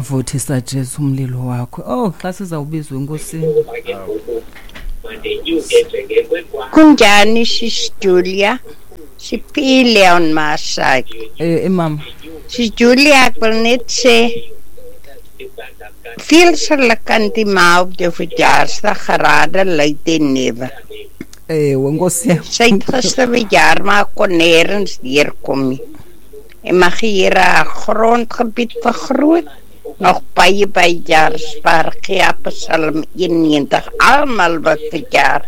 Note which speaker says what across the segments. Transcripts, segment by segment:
Speaker 1: Vuthisa Jesu umlilo wakho. Oh, xa sizawubizwa enkosini.
Speaker 2: Kunjani sis Julia? Siphile on my side.
Speaker 1: Mama.
Speaker 2: Sis Julia, ek wil net sê veel geluk aan die ma op jou verjaarsdag, gerade luid en newe.
Speaker 1: Nkosi yam.
Speaker 2: Sy het gister verjaar, maar kon nêrens deurkom nie. En mag die Here haar grondgebied vergroot. Nog baie, baie jaar spaar gee Psalm 91. Almal wat verjaar,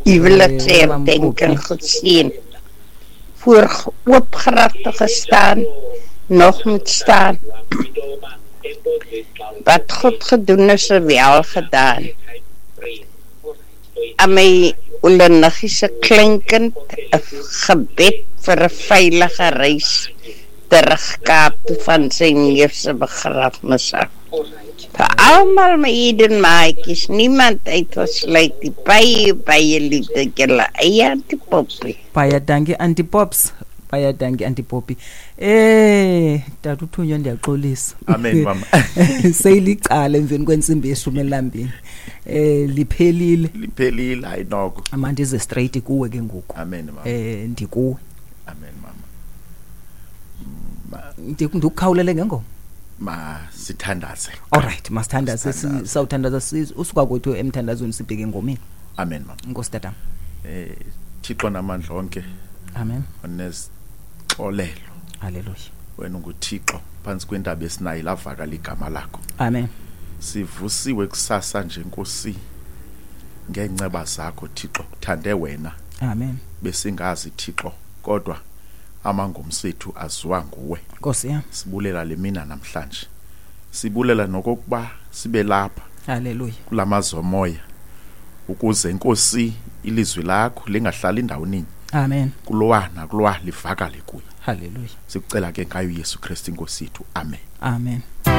Speaker 2: huweliksherdenking geseën. Voor oop grafte gestaan, nog moet staan. Wat God gedoen is, is wel gedaan. Aan my oleniggie se kleinkind, 'n gebed vir 'n veilige reis terug Kaap toe van sy neef se begrafnis af. Vir almal my Eden maatjies, niemand uitgesluit nie. Baie, baie liefde julle eie Auntie Poppy.
Speaker 1: Baie dankie Auntie Pops. Baie dankie Auntie Poppy. Tata uThunywa, ndiyaxolisa.
Speaker 3: Amen mama.
Speaker 1: Seyilicala emveni kwentsimbi ye-12. Liphelile.
Speaker 3: Liphelile, hayi noko.
Speaker 1: Amandize straight kuwe ke ngoku.
Speaker 3: Amen mama.
Speaker 1: Ndikuwe.
Speaker 3: Amen mama.
Speaker 1: Ndikukhawulele ngengoma.
Speaker 3: Masithandaze.
Speaker 1: Alright, masithandaze. Sawuthandaza usuka kwethu emthandazweni sibheke engomeni.
Speaker 3: Amen mama.
Speaker 1: Nkosi tata.
Speaker 3: Thixo namandla onke.
Speaker 1: Amen.
Speaker 3: Onesixolelo.
Speaker 1: Hallelujah.
Speaker 3: Wena unguThixo phansi kwentaba esinayo lavakala igama lakho.
Speaker 1: Amen.
Speaker 3: Sivusiwe kusasa nje Nkosi ngenceba zakho Thixo, thande wena.
Speaker 1: Amen.
Speaker 3: Besingazi Thixo kodwa amangomso ethu aziwa nguwe.
Speaker 1: Nkosi yam.
Speaker 3: Sibulela le mina namhlanje. Sibulela nokokuba sibe lapha.
Speaker 1: Hallelujah.
Speaker 3: Kulamazwi omoya ukuze Nkosi ilizwi lakho lingahlali endaweni.
Speaker 1: Amen.
Speaker 3: Kulowa nakulowa livakale kuye.
Speaker 1: Hallelujah.
Speaker 3: Sikucela ke ngayo Yesu Kristu Inkosi yethu. Amen.
Speaker 1: Amen.